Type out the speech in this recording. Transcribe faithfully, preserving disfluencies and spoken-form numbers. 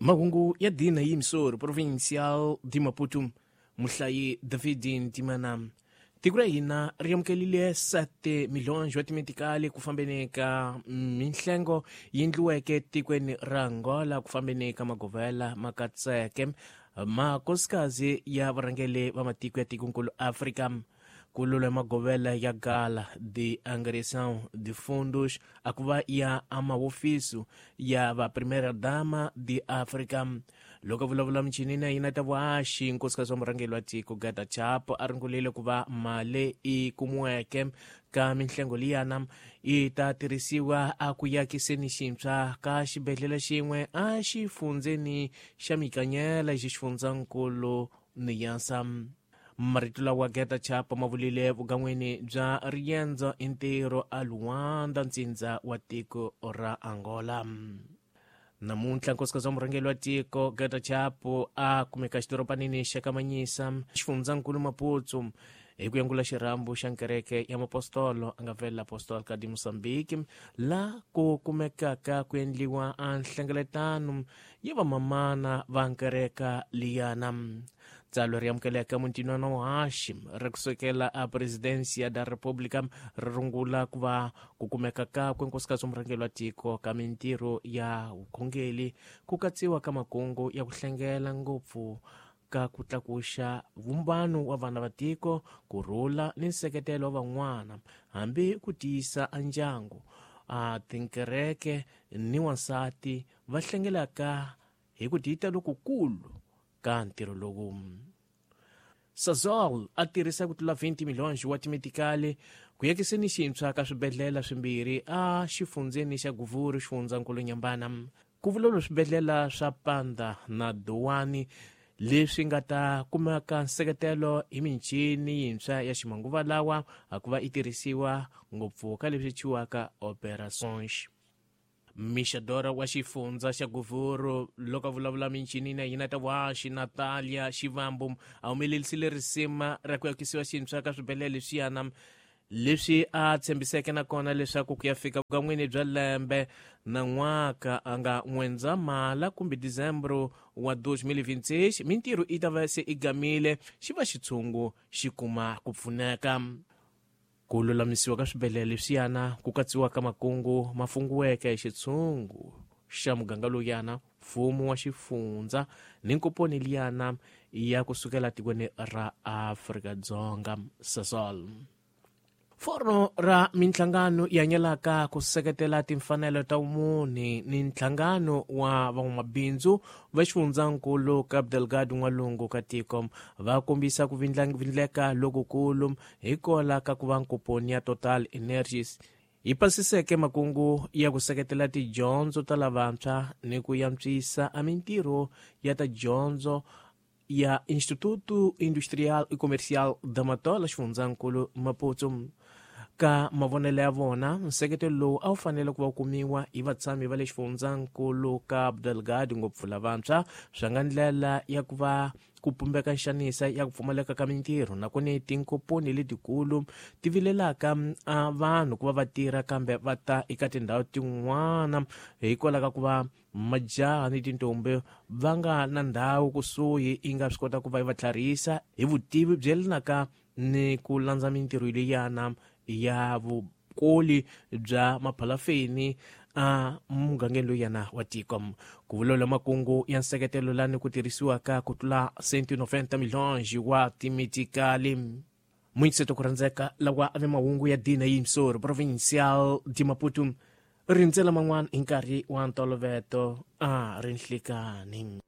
Mahungu ya dina yimsor provincial de Maputo muhlayi David Ntimana. Tiko ra hina ri amukelile sete milhões wa timetikali ku fambeni ka minhlengo yi endliweke tikweni ra Angola ku fambeni ka magovela ma katseke makosikazi ya varhangeri va matiko ya tikonkulu Afrika. Ku lula magovela ya gala de angariação de fundos a ku va ya amahofisi ya va primeira dama de Afrika. Loko a vulavula michinini ya hina ta vuhaxi, nkosikazi wa murhangeri wa tiko Gata Chapo a ringulile ku va mali i kumiweke ka minhlengo liyana yi ta tirhisiwa a ku yakiseni xintshwa ka xibedhlele xin'we a xifundzeni xa Mikanyela xifundzankulu Niassa. Marito lawa Geta Chapo ma vulile vugan'wini bya riendzo i ntirho a Luanda, ntsindza wa tiko ra Angola. Namuntlha nkosikazi wa murhangeri wa tiko Geta Chapo a kumeka xidorobanini xa Kamanyisa, xifundzankulu Maputo, hi ku yangula xirhambo xa nkereke ya mapostolo a nga vela Apostolica de Moçambique, la ku kumekaka ku endliwa a nhlengeletano ya vamamana va nkereka liyana. Tsalwa ri amukeleka mutinwana wa haxi ri kusukela a Presidencia da República ri rungula ku va ku kumeka kakwe nkosikazi wa murhangeri wa tiko ka mintirho ya vukhongeri ku katsiwa ka makungu ya ku hlengela ngopfu ka ku tlakuxa vumbano wa vana va tiko, ku rhula ni nseketelo wa van'wana, hambi ku tiyisa a ndyangu. A tinkereke ni wansati va hlengelaka hi ku tiita lokukulu ka ntirho lowu. Sasol a tirhisa ku tlula vinte milhões wa timetikali ku yakiseni xintshwa ka swibedhlele swimbirhi a xifundzeni xa Guvuru, xifundzankulu Nyambana. Ku vulavula swibedhlele swa Panda na Dowani leswi nga ta kumeka nseketelo hi michini yintshwa ya ximanguva lawa a ku va yi tirhisiwa ngopfu ka leswi thyiwaka operations. Mixadora wa xifundza xa Guvuru loko a vulavula minchinini ya hina ta vuhaxi Natalia Xivambu a humelerisile risima ra ku yakisiwa xintshwa ka swibedhlele leswiyana leswi a tshembiseke nakona leswaku ku ya fika vukan'wini bya lembe na n'waka a nga N'wendzamhala kumbe Dezembro wa dois mil e vinte e seis mintirho yi ta va se i gamile xi va xitshungu xi kuma ku pfuneka. Ku lulamisiwa ka swibedhlele leswiyana ku katsiwa ka makungu ma fungiweke hi xitshungu xa muganga lowuyana, mfumo wa xifundza ni nkoponi liyana ya kusukela tikweni ra Afrika-Dzonga Sasol. Foro ra minhlangano yi hanyelaka ku seketela timfanelo ta vumunhu ni nhlangano wa van'wamabindzu va xifundzankulu Cabo Delgado n'walungu ka tiko va kombisa ku vindleka lokukulu hikwalaho ka ku va nkoponi ya Total Energies yi pasiseke makungu ya ku seketela tidyondzo ta lavantshwa ni ku antswisa a mintirho ya ta dyondzo ya Instituto Industrial e Comercial da Matola xifundzankulu Maputo. Ka mavonelo ya vona, nseketelo lowu a wu fanele ku va kumiwa hi vatshami va le xifundzankulu Cabo Delgado ngopfu lavantshwa swi nga ndlela ya ku va ku pumbeka nxanisa ya ku pfumaleka ka mintirho nakona tinkoponi letikulu ti vilelaka a vanhu ku va va tirha kambe va ta eka tindhawu tin'wana hikwalaho ka ku va majaha ni tintombi va nga na ndhawu kusuhi yi nga swi kota ku va yi va tlharihisa hi vutivi byi yelanaka ni ku landza mintirho leyana ya vukoli bya maphalafeni a mugangeni lowuyana wa tiko. Ku vulavula makungu ya nseketelo lani ku tirhisiwaka ku tlula cento e noventa milhões wa timetikali. Muinseto ku rhandzeka lawa a ve mahungu ya dina yimsor provincial de Maputo rindzela man'wana hi nkarhi wa ntolovelo a ri nhlikani.